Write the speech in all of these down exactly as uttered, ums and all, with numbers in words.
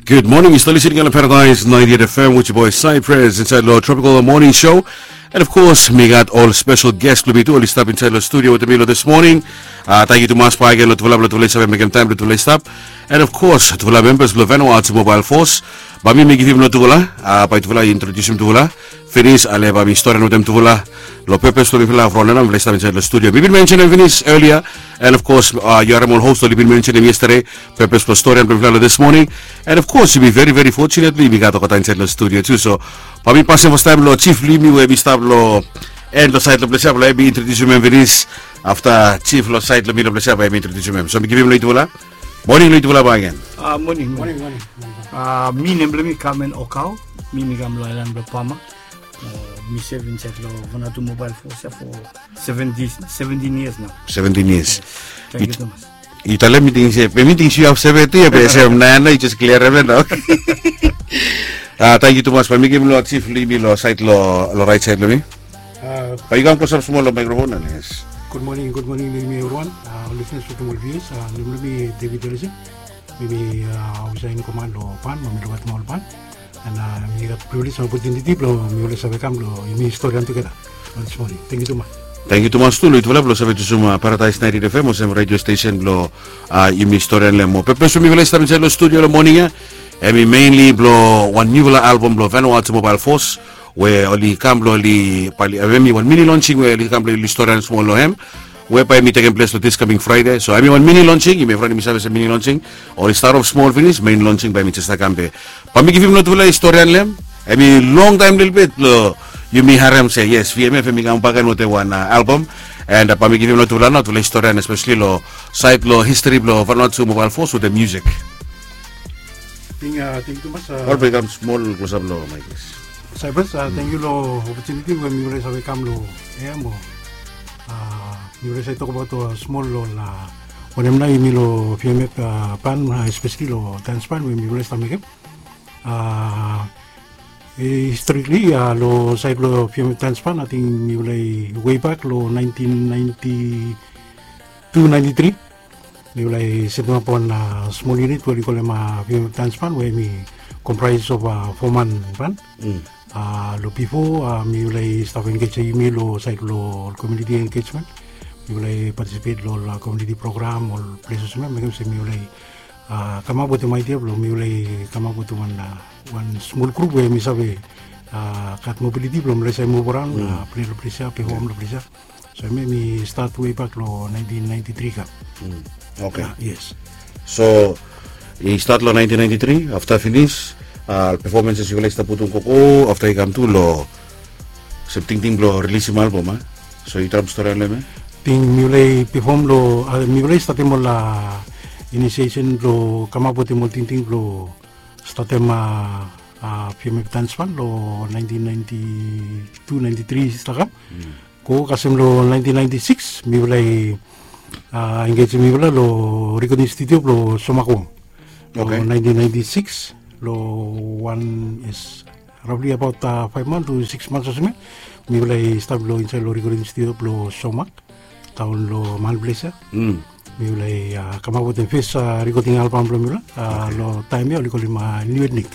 Gud moning, yu stap listening long Paradise ninety-eight F M with your boy Cypress inside long Tropical Morning Show. And of course, mi gat ol special guest blong mi tu, oli stap inside long studio wetem mi long this morning. Uh, thank you tumas bak agen long tufala blong tufala i save mekem taem blong tufala i stap. And of course, tufala members blong Vanuatu Mobile Force. Bae mi mekem long tufala, uh, bae tufala i introdusim tufala. Finis ale bae mi storian wetem tufala long purpose blong mifala from nao mifala i stap inside long studio. Mi bin mentionem finis earlier, and of course, uh, yu harem ol host oli bin mentionem yesterday, purpose blong storian blong mifala long this morning. And of course, yumi very very fortunately yumi gat olgeta inside long studio tu. So bae mi pasem fastaem long Chief Limi we mi stap long en long saed long ples ia blong hem mi introdusim hem finis. Afta Chief long saed long mi long ples ia bae mi introdusim hem. So mi givim long yutufala. Moning long yutufala bak agen. Ah, moning, moning. Moning, moning. Ah, mi nem blong mi Carmen Okau. Mi mi kam long aelan blong Pama. Ah, mi sev insaed long Vanuatu Mobile Force ia for seventeen, seventeen years nao. Seventeen years. Yes. Thank you tumas. Yu talem mi ting se, be mi ting se yu have seventy ia be se nao yu jes kliarem ia nao. Ah, thank you tumas. Bae mi givim long Chief Limi long saed long, long raet saed blong mi. Ah, bae yu kam klosap smol long microphone, yes. Gud moning, gud moning long yumi evriwan. Ah, ol listeners wetem ol viewers, ah, nem blong mi David Ellison. Mi mi, ah, ofisa in command long pan, mi mi luk afta ol pan. And, ah, mi gat privilege and opportunity blong mifala i save kam blong yumi storian tugeta long this morning. Thank you tumas. Thank you tumas tu long yutufala blong save jusum, ah, Paradise ninety-eight F M olsem radio station blong, ah, yumi storian long hem. Mo purpose blong mifala i stap insaed long studio long moning ia, hemi mainly blong wan niufala album blong Vanuatu Mobile Force we oli kam blong oli, bae oli, hemi wan mini launching we oli kam blong oli storian smol long hem. We bae hemi tekem ples long this coming Friday. So hemi wan mini launching, yumi evriwan yumi save olsem mini launching. Oli start off smol finis, main launching bae hemi jes stap kam be. Bae mi givim long tufala i storian long hem. Hemi long taem lelebet blong yumi harem se yes, V M F hemi kam bak agen wetem wan, ah, album. And, ah, bae mi givim long tufala nao tufala i storian especially long saed long history blong Vanuatu Mobile Force wetem music. Ting, ah, ting tumas, ah, ol bae i kam smol klosap long mic, yes. Cypress, ah, thank you long opportunity we mifala i save kam long hem mo, ah, mifala i save tokbaot, ah, smol long, ah, wanem nao yumi long V M F, ah, pan, ah, especially long dance pan we mifala i stap mekem. Ah, historically, ah, long saed blong V M F dance pan, ating mifala i way back long nineteen ninety-two ninety-three. Mifala i setemap wan, ah, smol unit we oli kolem, ah, V M F dance pan we hemi comprise of, ah, four man pan. Ah, long bifo, ah, mifala i stap engejem yumi long saed long community engagement. Mifala i participate long ol, ah, community program, ol ples olsem ia, mekem se mifala i, ah, kamap wetem idea blong mifala i kamap wetem wan, ah, wan smol grup we hemi save, ah, gat mobility blong mifala i save move around, ah, play long ples ia, perform long ples ia. So hemia i start way back long nineteen ninety-three kam. Oke. Ah, yes. So i start long nineteen ninety-three, afta finis, ah, performances yufala i stap putum gogo, afta i kam tu long olsem tingting blong rilisim album, a? So yu traem storian long hemia? Ting mifala i perform long, ah, mifala i statem ol, ah, initiation blong kamap wetem ol tingting blong statem, ah, ah, V M F dance pan long nineteen ninety-two ninety-three stap kam. Go kasem long nineteen ninety-six, mifala i, ah, engejem mifala long recording studio blong Somak Wong. Oke. Long nineteen ninety-six, long wan, yes, roughly about, ah, five months to six months olsem ia, mifala i stap long insaed long recording studio blong Somak, taon long Mahan Ples ia. Mifala i, ah, kamap wetem fes, ah, recording album blong mifala, ah, long taem ia oli kolem, ah, New Ethnic.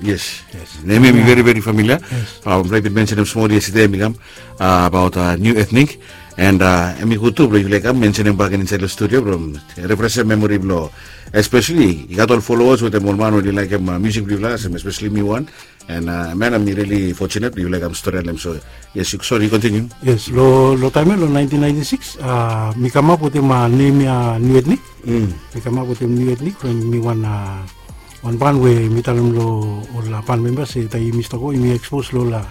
Yes. Yes. Nem ia mi very very familiar. Yes. Ah, mifala i bin mensenem smol yestede mi kam, ah, abaot, ah, New Ethnic. And, ah, hemi gud tu blong yufala i kam mensenem bakegen insaed long studio blong refreshem memory blong, especially i gat ol followers wetem ol man we oli laekem, ah, music blong yufala, especially mi wan. And, ah, man, mi really fortunate blong yufala i kam storian long hem. So yes, yu, sorry, yu continue. Yes, long, long taem ia long nineteen ninety-six, ah, mi kamap wetem, ah, nem ia New Ethnic. Mi kamap wetem New Ethnic from mi wan, ah, wan ban we mi talem long ol, ah, ban members se taem yumi stap go yumi expose long ol, ah,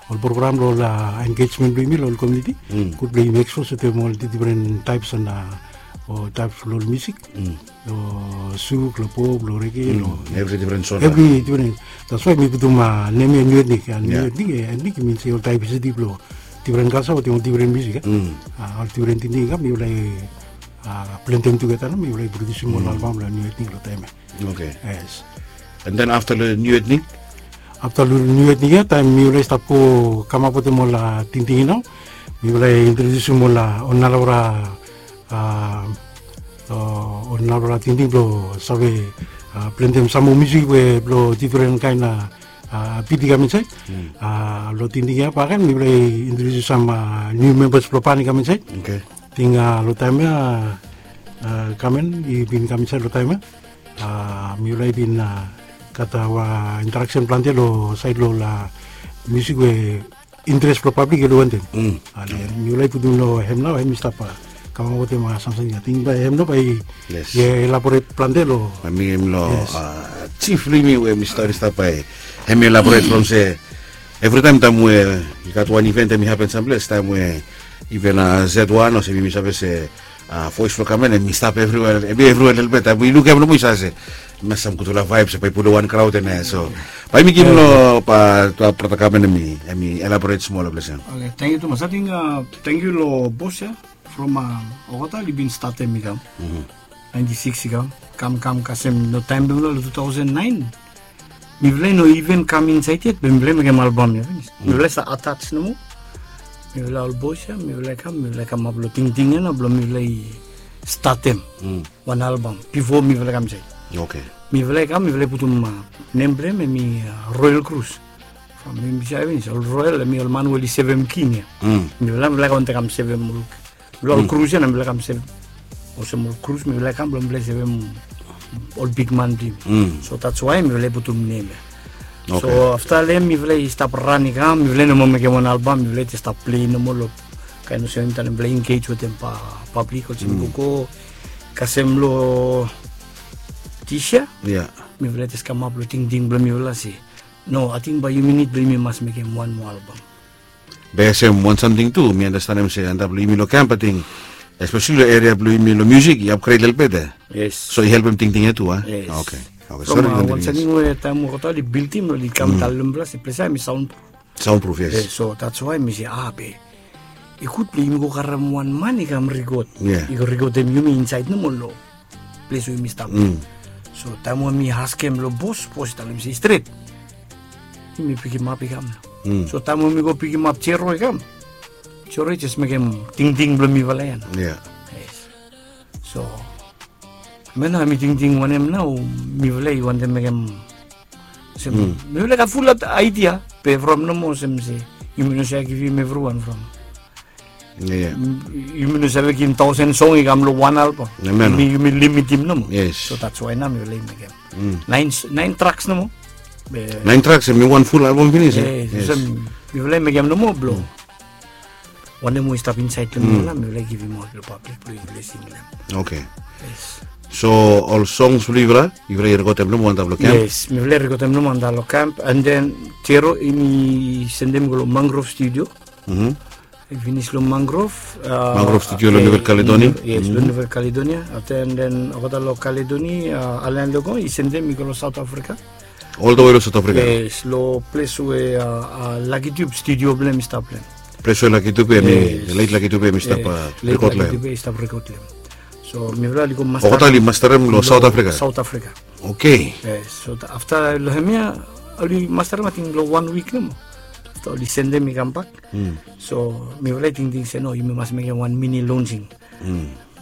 ol program long ol, ah, engagement blong yumi long ol community. Gud blong yumi expose wetem ol difren taeps and, ah, o taeps blong ol music. Long suk, long pop, long reggae, long evri difren genre. Evri difren. That's why mi putum, ah, nem ia New Ethnic, ah, New Ethnic, eh, ethnic i min se ol diversity blong difren kalja wetem ol difren music, eh. Ah, ol difren tingting i kam, mifala i, ah, blenem tugeta nao mifala i produsim ol album blong New Ethnic long taem ia. Oke. Yes. And then afta long New Ethnic? Afta long New Ethnic ia, taem mifala i stap go kamap wetem ol, ah, tingting ia nao, mifala i introdusim ol, ah, ol narafala, ah, ah, ol narafala tingting blong save, Plantem sam moa musik we blong difren kaen bit i kam insaed. Long tingting ya baken mipela i introdiusim sam niu membas blong ban i kam insaed. Ting long taem ya kamen i bin kam insaed long taem ya mipela i bin gat aua interaksen plante long saed long ol musik we interes blong pablik i oli wantem. Ale mipela i putum long hem nao hem i stap kamap wetem samting ya ting bai hem nao bai i elaboret plante long mi hem long chif long yumi we mi stap i stap bai hem i elaboret from se evritaem taem we i gat wan iven em i hapen samples taem we iven z one olsem yumi save se voes blong kamen em i stap evriwea em i evriwea lelebet taem we i lukim nomo i save se mas sam gutfala vaeb se bai i pulum wan kraod em ya so bai mi givim long brata kamen em i elaboret smol long ples ya. Oke, tangkiu tumas. Ating tangkiu long bos ya from olgeta oli bin statem i kam naenti sikis i kam kam kam kasem long taem blong mifala long tu taosen naen. Mifala i no iven kam insaed yet be mifala i mekem albam ya finis. Mifala i stap atas nomo. Mifala ol bos ya mifala i kam mifala i kamap long tingting ya nao blong mifala i statem wan albam bifo mifala i kam insaed. Mifala i kam mifala i putum nem blong hem em i Royal Cruise. From mifala i save finis ol Royal em i ol man we oli sevem king ya. Mifala mifala i kam wantaem kam sevem ol Blong ol krus ya na mipela kam sem olsem ol krus mipela i kam blong mipela i sevem ol bikman blong yumi. So that's why mipela i putum nem ya. So afta long em mipela i stap ran i kam mipela i no moa mekem wan albam mipela i stap plei nomo long kain olsem taim mipela i engage wetem pablik olsem i go go kasem long disia. Mipela i jes kamap long tingting blong mipela se no ating bai yumi nid blong yumi mas mekem wan moa albam. Be olsem wan samting tu mi anastanem se antap long yumi long kamp ating espesali long eria blong yumi long musik i apgred lelebet ya. So i helpem tingting ya tu a? Oke. From wan samting we taim wokota oli bildim oli kam talem ples ya ples ya em i saun pruf. Saun pruf yes. So that's why mi se a be i gud blong yumi go karem wan man i kam rikot i go rikotem yumi insaed nomo long ples we yumi stap. So taim we mi askem long bos bos i talem se i stret yumi pikimap i kam nao. So taim we mi go pikimap jero i kam jero i jes mekem tingting blong mifala ya nao. So hemia nao mi tingting wanem nao mifala i wantem mekem olsem mifala i gat fulap aidia be from nomo olsem se yumi no save givim evriwan from yumi no save givim tausen song i kam long wan albam. Yumi limitim nomo. So that's why nao mifala i mekem nain traks nomo. Nain traks em i wan ful albam finis. Mifala i mekem nomo blong wanem we i stap insaed long mifala mifala i givim aut long pablik blong yufala i singim. Oke. So ol songs blong yufala yufala i rekotem nomo antap long kamp? Yes mifala i rekotem nomo antap long kamp and then jero yumi sendem i go long mangrove studio. I finis long mangrove. Mangrove studio long nuvel kaledonia. Yes long nuvel kaledonia afta and then olgeta long kaledonia alan logo i sendem i go long saut afrika. Oltawe long saut afrika. Yes long ples we lakitube studio blong em i stap long em. Ples we lakitube em i leit lakitube em i stap rekod long em. So mifala oli go master olgeta oli mastarem long saut afrika. Saut afrika. Oke. So afta long hemia oli mastarem ating long wan wik nomo afta oli sendem i kambak. So mifala i tingting se no yumi mas mekem wan mini lonsing.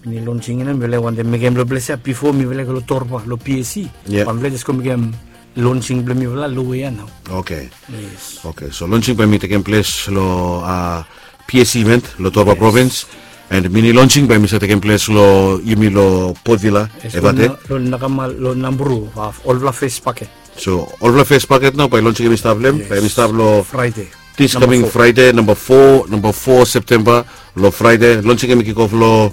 Mini lonsing ya nao mifala i wantem mekem long ples ya bifo mifala i go long torba long psc. Bai mifala i jes go mekem lonsing blong mifala long we ya nao. Oke. Oke so lonsing bai mi tekem ples long psc event long torba provins. And mini lonsing bai mi save tekem ples long yumi long potvila evate. Long nakama long nambru olfala fes paket. So olfala fes paket nao bai lonsing em i stap long em bai em i stap long fraide. Dis kaming fraide namba fo namba fo septemba long fraide lonsing em i kikof long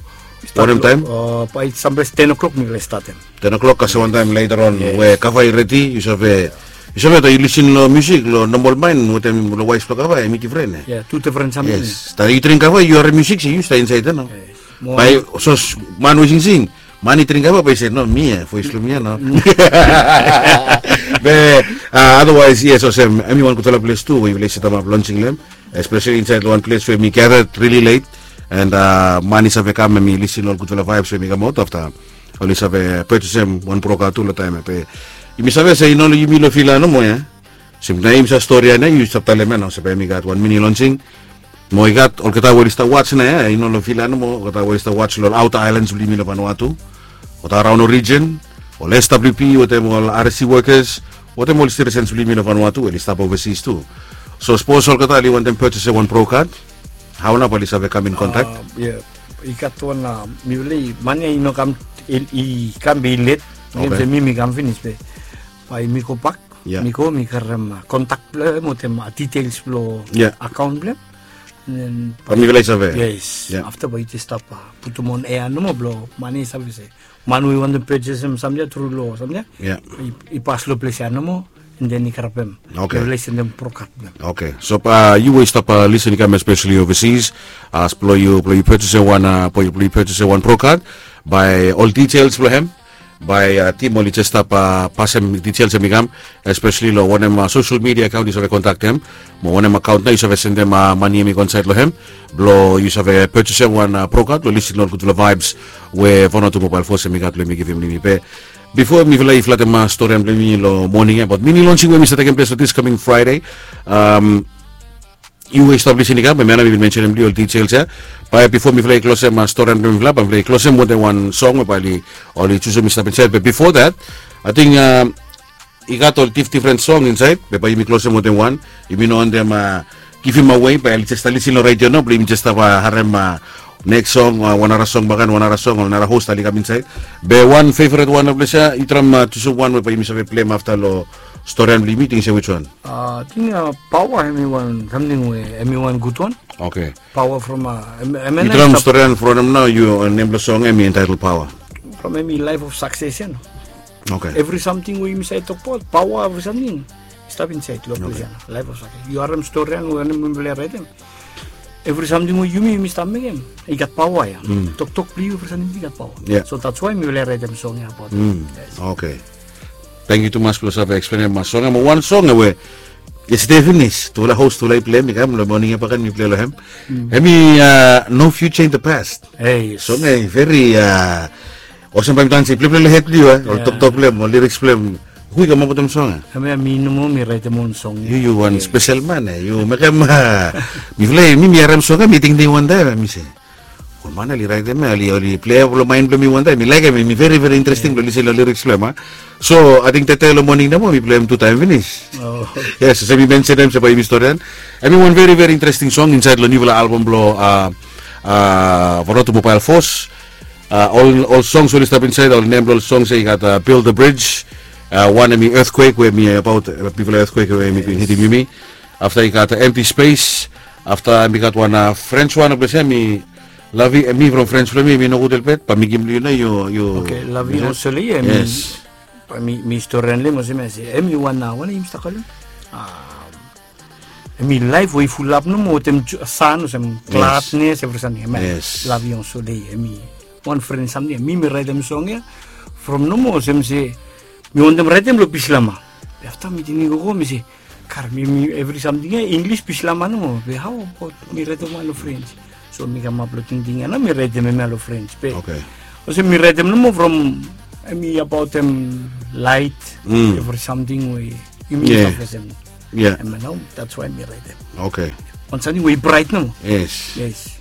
wanem taim? Bai samples ten o'klok mipela i statem. Ten o'klok kasem wantaim later on we kava i redi yu save yu save ta yu lisin long musik long nambol main wetem long wais blong kava em i difren ya. Tu difren samting. Yes ta yu dring kava yu harim musik se yu sta insaed ya nao. Bai sos man we singsing man i dring kava bai se no mi ya voes blong mi ya nao. Be otherwise yes olsem em i wan gutfala ples tu we yufala i setemap lonsing long em. Espesali insaed long wan ples we mi gathered rili leit and man i save kam em i lisin long ol gutfala vaebs we mi kamaot afta oli save purchasem wan broka tu long taim ya be yumi save se i no long yumi long vila nomo ya. Olsem na yumi save stori ya na yu save talem ya na olsem bae mi gat wan mini lonsing. Mo i gat olgeta we oli stap wats na ya i no long vila nomo olgeta we oli stap wats long ol auta ailans blong yumi long vanua tu olgeta raon ol rijen ol S W P wetem ol R S C workers wetem ol citizens blong yumi long Vanuatu we oli stap overseas tu. So sapos olgeta oli wantem purchase wan pro card, hao nao bae oli save kam in contact? Ya, i gat wan, mifala i mani ya i no kam, i kam be i let. Olsem mi mi kam finis be bae mi go bak, mi go mi karem kontak blong hem wetem details blong akaon blong hem. Bae mifala i save. Yes, afta bae i jes stap putum on ea nomo blong mani i save se man we i wantem purchasem samting ya tru long samting ya, i pas long ples ya nomo, and then i karapem. Mifala i sendem pro card blong hem. Okay, so yu we i stap lisin i kam especially overseas, as blong yu blong yu purchasem wan, blong yu purchasem wan pro card, bae ol details blong hem bae tim oli jes stap pasem details hem i kam, especially long wanem social media account yu save kontaktem, mo wanem account nao yu save sendem mani hem i go insaed long hem, blong yu save purchasem wan pro card blong lisin long ol gudfala vibes we Vanuatu Mobile Force hem i gat blong hem i givim long yumi. Be bifo mifala i flatem storian blong yumi long moning ya, but mini launching we hem i save tekem ples long this coming Friday. Yu we i stap lisin i kam, hemia nao mi bin mensenem long yu ol details ya. Bae bifo mifala i klosem storian blong mifala, bae mifala i klosem wetem wan song we bae oli jusum i stap insaed. Be bifo that, ating i gat ol difdifren song insaed be bae yumi klosem wetem wan. Yumi no wantem givim awe bae oli jes stap lisin long redio nao blong yumi jes stap harem neks song, wan nara song bakegen, wan nara song, ol nara hos oli kam insaed. Be wan feveret wan long ples ya, yu traem jusum wan we bae yumi save pleim afta long storian blong yumi, ting se wiswan? Ating paoa hemi wan samting we hemi wan gudwan. Okay. Paoa from hemi wan storian from hem nao, yu nem blong song hemi entitled Paoa. From hemi life of success ya nao. Okay. Evri samting we yumi save tokbaot, paoa, evri samting i stap insaed long ples ya nao. Life of success, yu harem storian we mifala i raetem, evri samting we yumi yumi stap mekem i gat paoa ya. Toktok blong yu, evri samting i gat paoa. So that's why mifala i raetem song ya abaot. Okay. Tangkiu tumas blong save eksplenem song ya. Mo wan song ya we yestede finis tufala hos tufala i pleim i kam long moning ya bakegen mi plei long hem. Hemi No Future in the Past. Song ya i veri, olsem bae mi talem se i pleplei long hed blong yu, ol toktok blong hem, ol lyrics blong hem. Hu i kamaot wetem song ya? Hemia mi nomo mi raetem on song ya. Yu, yu wan spesel man ya, yu mekem mifala, mi mi harem song ya mi tingting wantaem, mi se ol man ya oli raetem ya, oli plei long maen blong mi wantaem, mi laekem, mi veri veri interesting blong lisin long lyrics blong hem. So ating tede long moning nomo mi pleim tu taem finis. Yes, olsem mi mensenem se bae yumi storian, hemi wan veri veri interesting song insaed long niufala album blong Vanuatu Mobile Force. Ol songs we oli stap insaed, ol nem blong ol songs ya i gat Build the Bridge, wan hemi Earthquake we hemi abaot bigfala earthquake we hemi bin hitim yumi. Afta i gat Empty Space. Afta hemi gat wan French wan, ples ya hemi La Vie, hemi from French blong mi hemi nogud olbaot, bae mi givim long yu nao. Yu, yu. Okay, La Vie Ensoleillée, hemi, mi storian long hem olsem ya se hemi wan, wanem yumi stap kolem, hemi laef we i fulap nomo wetem san, olsem gladness, evri samting. La Vie Ensoleillée, hemi wan fren samting ya. Mi mi raetem song ya from nomo olsem se mi wantem raetem long Bislama. Be afta mi tingting gogo mi se, kar, mi mi evri samting ya Inglis, Bislama nomo. Be hao abaot mi raetem wan long French? So mi kamap long tingting ya nao mi raetem hemia long French. Be olsem mi raetem nomo from, hemi abaotem laet, evri samting we yumi stap fesem. Hemia nao that's why mi raetem. Okay. Wan samting we i braet nomo. Yes. Yes.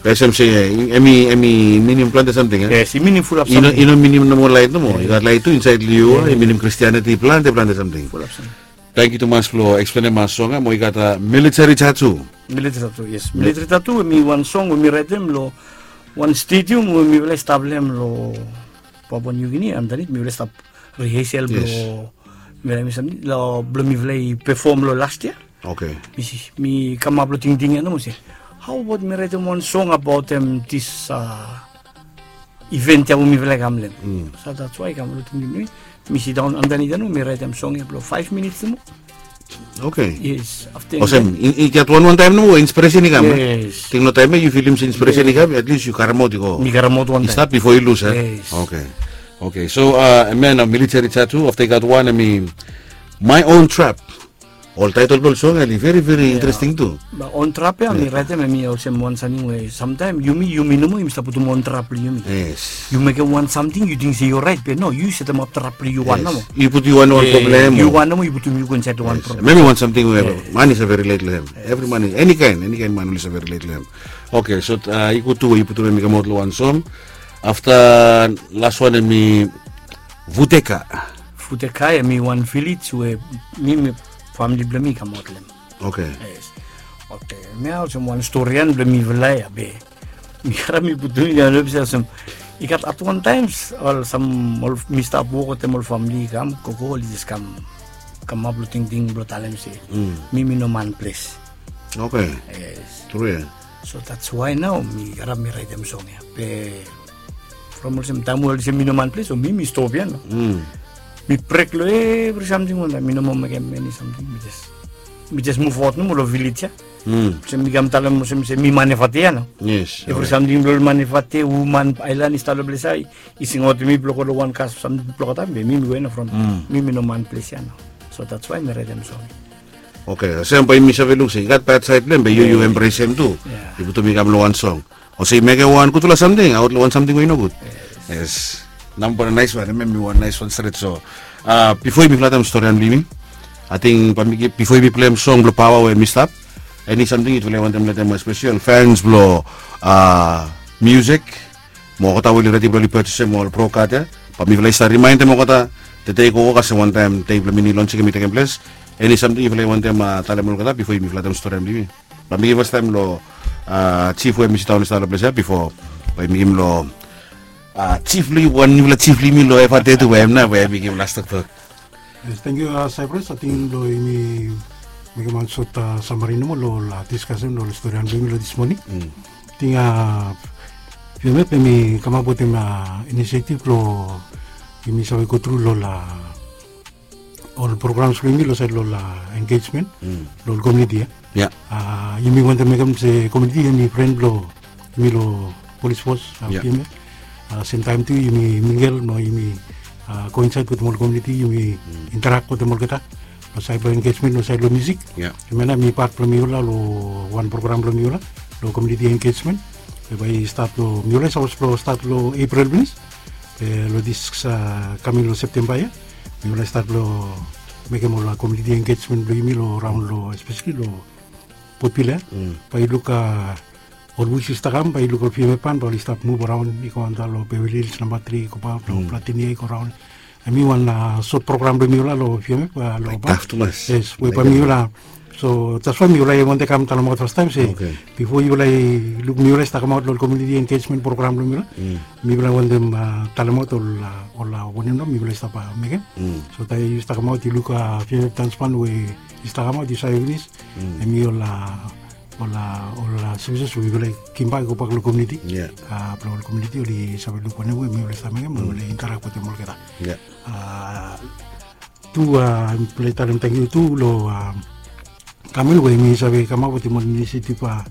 Olsem se hemi, hemi minim plante samting ya. Yes, i minim fulap samting. I no minim nomo laet nomo. I gat laet tu insaed long yu, i minim Christianity, plante plante samting. Fulap samting. Tangkiu tumas blong eksplenem song ya. Mo i gat Military Tattoo. Military Tattoo, yes. Military Tattoo hemi wan song we mi raetem long wan stadium we mifala i stap long hem long Papua New Guinea, andanit mifala i stap rehearsal blong, mifala i mekem samting long, blong mifala i pefom long last yia. Okay. Mi kamap long tingting ya nomo se, hao abaot mi raetem wan song abaotem dis event ya we mifala i kam long hem. So that's why i kam long tingting blong mi. Mi sidaon andanit ya nomo mi raetem song ya blong five minutes nomo. Okay. Yes. Afta olsem i gat wan wan taem nomo we inspiresen i kam. Yes. Ting long taem ya yu filim se inspiresen i kam, at least yu karemaot i go. Mi karemaot wan taem. I stap bifo i lus, e? Yes. Okay. Okay, so hemia nao Military Tattoo, afta i gat wan hemi My Own Trap. Ol taetol blong ol song ya oli veri veri interesting tu. My Own Trap ya mi raetem, hemi olsem wan samting we samtaem yumi, yumi nomo yumi stap putum own trap blong yumi. Yes. Yu mekem wan samting yu ting se yu oraet be no, yu setemap trap blong yu wan nomo. Yu putum yu wan, wan problem. Yu wan nomo yu putum yu go insaed long wan problem. Hemia hemi wan samting we man i save rilet long hem. Evri man, eni kaen, eni kaen man oli save rilet long hem. Okay, so i gud tu we yu putum hem i kamaot long wan song. Afta las wan hemi Futeka. Futeka em i wan vilej we mi, mi famili bilong mi i kamaut long em. Oke. Yes. Oke, mi olsem wan storian bilong mifala ya be mi harim mi putum ya, no bisa olsem i gat at wan taim ol sam ol mi stap wok wantaim ol famili i kam, gogo ol i jes kam kamap long tingting bilong talem se mi, mi no man ples. Oke. Yes. Tru ya. So that's why nau mi harim mi raitim song ya. Be from olsem taim we olsem mi no man ples, so mi, mi stop ya no. Mi brek long evri samting wantaim, mi no moa mekim eni samting, mi jes, mi jes move out nomo long vilej ya. Olsem mi kam talem olsem se mi manifest ya no. Yes. Evri samting bilong manifest, woman ailan i stap long ples ya, i singautim mi bilong go long wan kas samting bilong taim be mi, mi go ya no from mi, mi no man ples ya no. So that's why mi raitim song. Oke, olsem bai mi save luk se i gat bad side bilong em be yu, yu embrace em tu. Yu putum i kam long wan song. Olsem i mekim wan gutpela samting aut long wan samting we i nogut. Yes. Namba nais wan, em i wan nais wan stret. So, a, bipo mifala talem storian bilong yumi, ating bai mi givim, bipo yumi pleim song bilong pawa we mi stap, eni samting yutufala i wantem letem, especially ol fans bilong, a, musik, mo olgeta we oli redi bilong oli purchasem ol Pro Card ya, bai mifala i stap rimaindem olgeta, tede i go olsem wantaim dei bilong mini launching em i tekem ples. Eni samting yufala i wantem, a, talem olgeta bipo yumi talem storian bilong yumi? Bai mi givim fastaim long, a, chief we em i sindaun i stap long ples ya bipo bai mi givim long, a, chief long yumi, wan nupela chief long yumi long Eva Tetu, we em nau we em i givim las toktok. Yes, thank you, a, Cyprus. Ating long yumi mekim wan sot, a, samari nomo long ol, a, discussion long ol storian bilong yumi long this morning. Ating, a, V M F em i kamap wantaim, a, initiative long yumi save go tru long ol, a, ol programs bilong yumi long sait long ol, a, engagement long ol community ya. A, yumi wantem mekim se community em i pren bilong yumi long police force, a, V M F. A, sem taim tu yumi mingle mo yumi, a, go insait wantaim ol community, yumi interact wantaim olgeta long sait long engagement, long sait long musik. Em ya nau em i pat bilong mifala long wan program bilong mifala long community engagement, we bai i stat long, mifala i sapos long stat long April pinis. Be long this, a, kaming long September ya mifala i stat long mekim ol, a, community engagement bilong yumi long raun long, especially long Port Vila. Bai yu luk, a, ol wik i stap kam, bai yu luk ol V M F ban bai oli stap muv araun, i go antap long Beverly Hills namba tri, i go paut long Platinum, i go raun. Em i wan, a, sot program bilong mifala long V M F, a, long, a, taf tumas. Yes, we bai mifala. So that's why mifala i wantem kam talemaot fastaim se bipo yufala i luk mifala i stap kamaot long community engagement program bilong mifala, mifala i wantem, a, talemaot ol, a, ol, a, wanem nau mifala i stap, a, mekim. So taim yu stap kamaot, yu luk, a, V M F dance band we i stap kamaot, yu save pinis. Em i ol, a, ol, a, ol, a, services we mifala i givim bak i go bak long community. A, bilong ol community oli save luk wanem we mifala i stap mekim, mifala i interact wantaim olgeta. A, tu, a, mifala i talem tangkiu tu long, a, Kamel we em i save kamap wantaim ol inisiativ, a,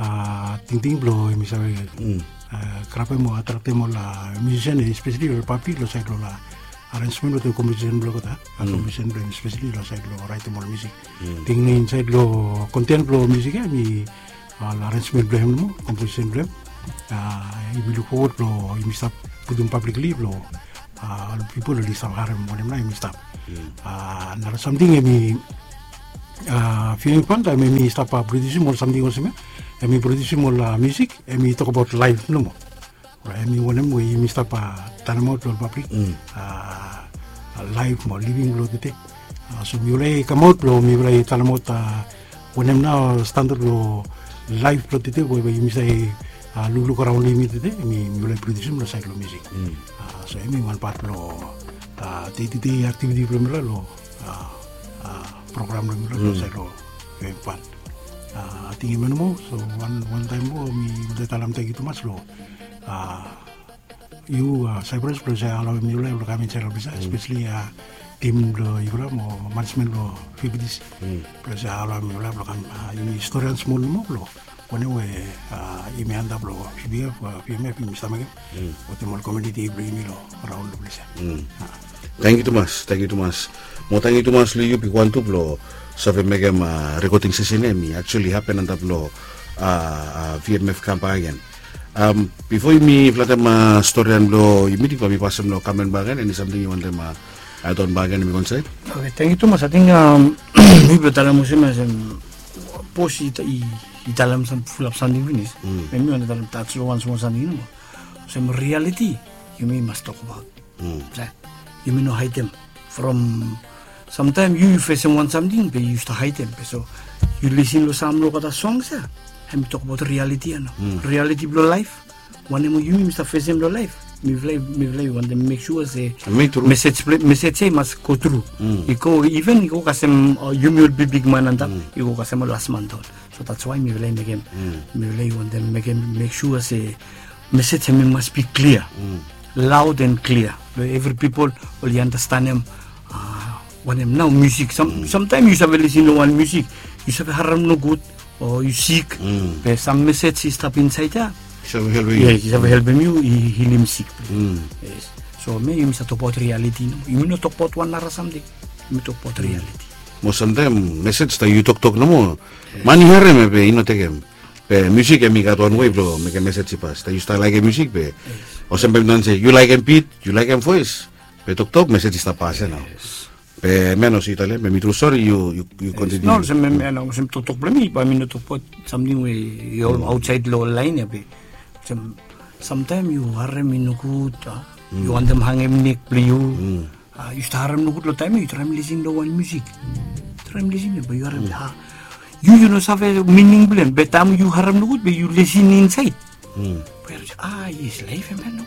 a, tingting bilong em i save, a, grabem o atraktem ol, a, musician, especially ol pablik long sait long ol, a, arrangement wantaim komposisen bilong olgeta, a, komposisen bilong em, especially long sait long raitim ol musik. Ting nao insait long konten bilong musik ya em i, a, ol arrangement bilong em nomo, komposisen bilong em. A, yumi luk fowod long yumi stap putum publicly long, a, ol pipol oli stap harim wanem nao em i stap. A, nara samting em i, a, V M F ban taim em i stap, a, produsim ol samting olsem ya, em i produsim ol, a, musik, em i tokbaot laip nomo. Orait, em i wanem we yumi stap, a, talemaot long ol pablik, a, laip mo living bilong tete. A, so mifala i kamaot long mifala i talemaot, a, wanem nao standard long laip bilong tete we, we yumi save, a, lukluk araun long yumi tete, em i mifala i produsim long sait long musik. A, so em i wanpela pat long, a, day to day activity bilong mifala long, a, a, program bilong mifala long sait long V M F ban. A, ating em ya nomo, so wan, wantaim moa mi wantem talem tangkiu tumas long, a, yu, a, Cyprus bilong save alaum mifala long kam insait long ples ya, especially, a, tim bilong yufala mo management bilong V B T C bilong save alaum mifala long kam, a, yumi storian smol nomo long wanem we, a, yumi antap long V B F, a, V M F yumi stap mekim wantaim ol komuniti bilong yumi long raun long ples ya. Tangkiu tumas, tangkiu tumas. Mo tangkiu tumas long yu Big One tu bilong save mekim, a, rekoding sesen ya em i actually hapen antap long, a, a, V M F kam bak gen. Am, bipo yumi flatem, a, storian bilong yumi, bai mi pasim long Kamel bak gen, eni samting yu wantem, a, add on bak gen, mi go insait. Oke, tangkiu tumas. Ating, am, mi bin talem olsem, olsem bos i, i, i talem sam, fulap samting finis. Be mi wantem talem, tas long wan smol samting nomo. Olsem reality yumi mas tokbaot. Sa, Yumi no haidem from samtaem yu yu fesem wan samting be yu stap haidem be so yu lisin long sam long olgeta songs ya. Hem i tokbaot rialiti ya nao, rialiti blong laef. Wanem we yumi mi stap fesem long laef, mifala mifala i wantem mek sua se mesej mesej ya i mas go tru. I go iven i go kasem yumi ol bigbigman antap i go kasem ol lasman daon. So dats wai mifala i mekem mifala i wantem mekem mek sua se mesej hem i mas bi klia, laod en klia long evri pipol oli anastenem. Wanem nao musik samtaem yu save lisin long wan musik yu save harem nogud o yu sik, be sam mesej i stap insaed ya i save helpem yu i hilim sik. So me yumi save tokbaot rialiti nao, yumi no tokbaot wan nara samting. Yumi tokbaot rialiti. Mo samtaem mesej ta yu toktok nomo, man i harem ya be i no tekem. Be musik hem i gat wan wei blong mekem mesej i pas ta yu stap laekem musik be olsem be mi tan se yu laekem bit, yu laekem voes, be toktok mesej i stap pas ya nao. Be men olsem yu talem be mi tru sori yu yu kontiniu. No olsem men olsem toktok blong mi bae mi no tokbaot samting we i ol aotsaed long ol laen ya be olsem samtaem yu harem i nogud, yu wantem hangem nek blong yu. Yu stap harem nogud long taem ya yu traem lisin long wan musik. Traem lisin ya bae yu harem ya. Yu yu no save mining blong hem be taem yu harem nogud be yu lisin insaed. Be yu se a yes laef em ya nao.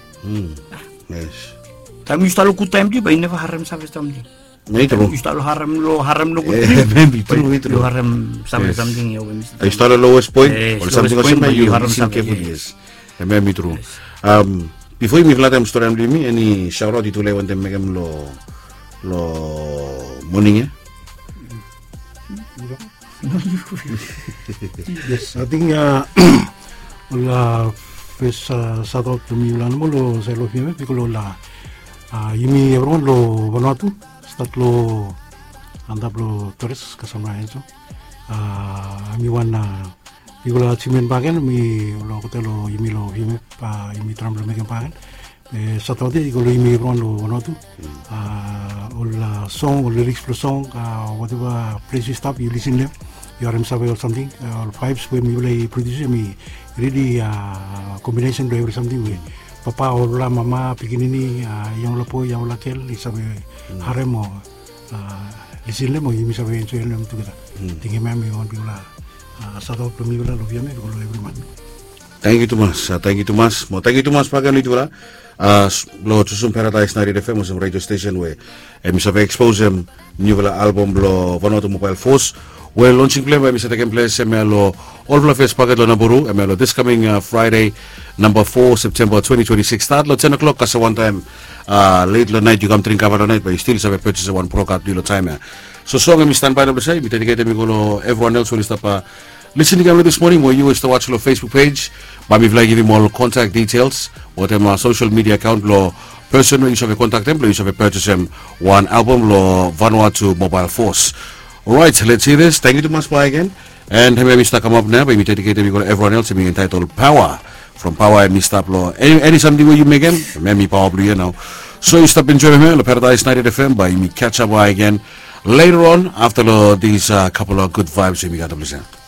Taem yu stap long gud taem tu bae yu neva harem save samting. Yu stap long harem long harem nogud. Yu harem save samting ya we mi stap long lowes poen ol samting olsem ya yu harem save. Yes. Em ya mi tru. Bifo yumi flatem stori blong yumi eni shaoraot yu tu lae wantem mekem long long moning ya? Yes, ating ol fes shaoraot blong mi yu long anamol long saed long fiame bikos long ol yumi evriwan long vanua tu stat long antap long tores kasama enso. Em i wan bigfala achievement bagen mi long olgeta long yumi long fiame yumi traem blong mekem bagen. Be sataode i go long yumi evriwan long vanua tu. Ol song ol liriks blong song wateva ples yu stap yu lisin long hem yu harem save ol samting ol vaebs we mifala i produsim i rili kombinesen blong evri samting we papa olfala mama pikinini yangfala boe yangfala gel i save harem o lisin long hem o yumi save enjoe long hem tugeta. Tingim hem i wan bigfala sataot blong mifala long fiame i go long evriman. Tangkiu tumas, tangkiu tumas mo tangkiu tumas bagen long yutufala. Long tusum paradaes naerit fm olsem redio stesen we em i save eksposem niufala albom blong vanuatu mobael fos. We lonsing blong em em i save tekem ples em ya long olfala fes paket long naburu em ya long dis kaming fraede namba fo septemba twenti twenti sikis stat long ten o'klok kasem wantaem let long naet yu kam dring kava long naet bae yu stil save pejes wan prokat blong yu long taem ya. So song em i stanbae long ples ya yumi dediketem i go long evriwan els we oli stap lisin i kam long dis moning mo yu we yu stap was long facebook pej. Bae mifala i givim ol kontak ditels wetem sosel midia akaon blong pesen we yu save kontaktem blong yu save pejesem wan albom long vanuatu mobael fos. Orait lets hia dis tangkiu tumas bae agen. And hemia mi stap kamap nao bae mi dediketem i go long evriwan els em i entaetol paoa. From paoa em i stap long eni samting we yu mekem em i paoa blong yu ya nao. So yu stap enjoem hemia long paradaes naerit fm bae yumi ketsap bae agen later on afta long dis kapel of gud vaebs we yumi gat long ples ya.